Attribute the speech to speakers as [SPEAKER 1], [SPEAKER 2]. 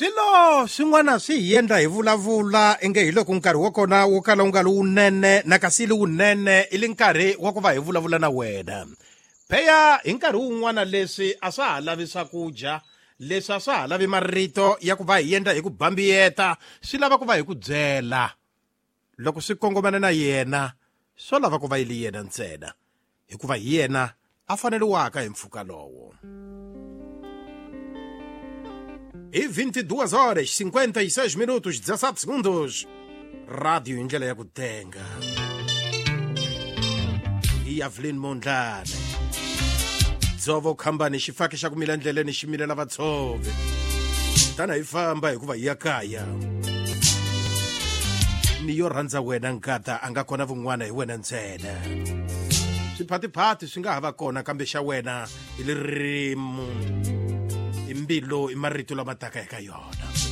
[SPEAKER 1] Swilo swin'wana swi hi endla hi vulavula inge hi loko nkarhi wa kona wo kala wu nga ri wunene na kasi li wunene i li nkarhi wa ku va hi vulavula na wena. Pheya hi nkarhi wun'wana leswi a swa ha lavi swakudya, leswi a swa ha lavi marito ya ku va hi endla hi ku bambiyeta, swi lava ku va hi ku byela. Loko swi kongomana na yena, swo lava ku va yi li yena ntsena, hikuva hi yena a faneriwaka hi mpfhuka lowo. Hi 22 horas 56 minutos 17 segundos. Rádio hi ndlela ya ku tenga. Hi Evelyn Mondlane. Dzovo khambani xifaki xa ku mila ndleleni xi milela vatshovi. Tana hi famba hikuva hi ya kaya. Ni yo rhandza wena nkata a nga kona vun'wana hi wena ntsena. Swiphatiphathi swi nga ha va kona kambe xa wena hi ririmi, i mbilu, i marito lama taka eka yona.